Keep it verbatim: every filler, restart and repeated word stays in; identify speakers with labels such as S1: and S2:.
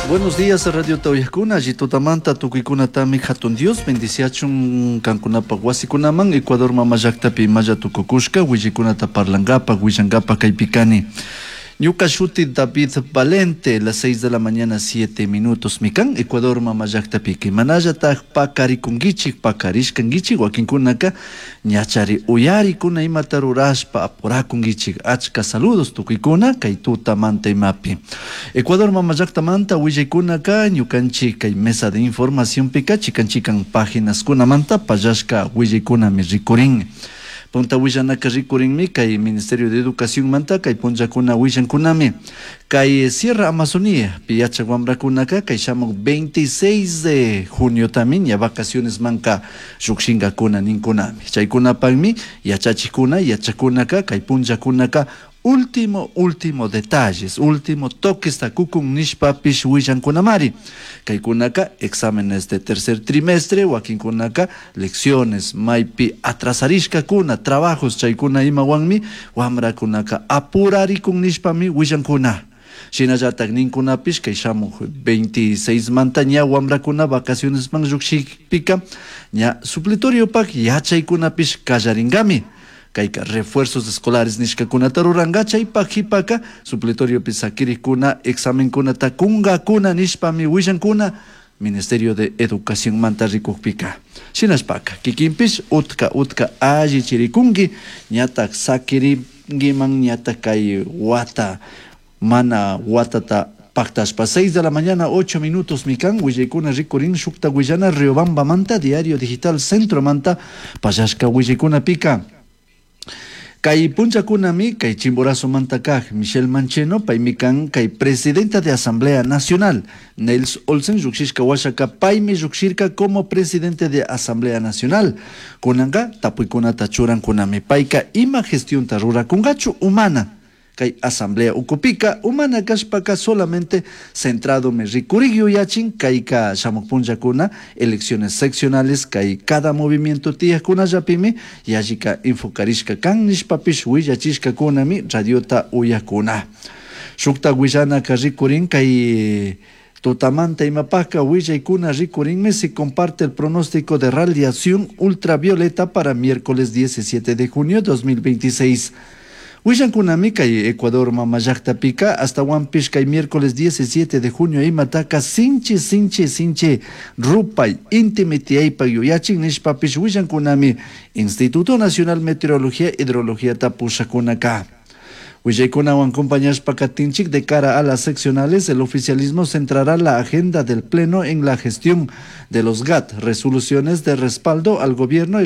S1: Buenos días, Radio Tauyakuna, Tutamanta, tukuykunatami hatun Dios, bendiciachun kankunapaj wasikunaman, Ecuador mama llaktapi imalla tukukushka, willaykunata parlankapak, willankapak kaypi kani. Ñuka shuti David Valente, las seis de la mañana, siete minutos, mikan, Ecuador mama llaktapika. Manallataj pakarikunkichik, pakarishkankichik, wakinkunaka ñachari uyarikuna imata rurashpa apurakunkichik. Achka saludos tukuykuna kay tutamanta imapi. Ecuador mama llaktamanta willaykunaka ñukanchik kay mesa de información pika chikan chikan páginas-kunamanta pallashka willaykunami rikurin. Punta willanaka rikurinmi kay Ministerio de Educación manta kay punllakuna willankunami. Kay Sierra Amazonía pi yachak wamrakunaka kay shamuk veintiséis de junio también ya vacaciones manka llukshinkakuna ninkunami. Chaykunapakmi yachachikuna yachakunaka kay punllakunaka último, último detalles, último toques takukun nishpapish willankunamari. Kaykunaka exámenes de tercer trimestre, wakinkunaka lecciones, maypi atrasarishkakuna, trabajos chaykuna imawanmi, wamrakunaka apurarikun nishpami willankuna. Shinallatak ninkunapish kay shamuk veintiséis manta ña wamrakuna vacaciones man llukshikpika, ña supletoriopak yachaykunapish kallarinkami. Kayka refuerzos escolares nishkakunata ruranka, chaypak jipaka supletoriopi sakirikuna examenkunata kunkakuna nishpami willankuna Ministerio de Educación manta rikukpika. Shinashpaka kikinpish utka utka alli chirikunki, ñatak sakirinkiman, ñatak kay wata mana watata paktashpa. Seis de la mañana, ocho minutos, mikan, willaykuna rikurin, shukta willana Riobamba manta, Diario Digital Centro manta, pallashka willaykuna pika. Kay punchakunami, kay Chimborazo manta kaj, Michelle Mancheno, paymi kan, kay presidenta de Asamblea Nacional, Nels Olsen, llukshishka washaka, paymi llukshirka como presidente de Asamblea Nacional. Kunanka, tapuykunata churankunami, payka ima gestionta rurakungachu humana. Kay Asamblea ukupika, humana kashpaka solamente centrado me rikurik yuyachin, kayka shamuk punllakuna, elecciones seccionales, kay cada movimiento tiyakkunallapimi, yallika enfocarishka kan nishpapish willachishkakunami radiota uyakuna. Shukta willanaka rikurin kay tutamanta imapaka willaykuna rikurinmi, se comparte el pronóstico de radiación ultravioleta para miércoles diecisiete de junio dos mil veintiséis. Willankunami kay Ecuador mama llaktapika hasta Huampish kay miércoles diecisiete de junio imataka sinchi sinchi sinchi rupay intimi tiyaypak yuyachin nishpapish willankunami Instituto Nacional Meteorología e Hidrología tapushakunaka. Willaykunawan acompañashpa katinchik, de cara a las seccionales, el oficialismo centrará la agenda del Pleno en la gestión de los G A T, resoluciones de respaldo al gobierno y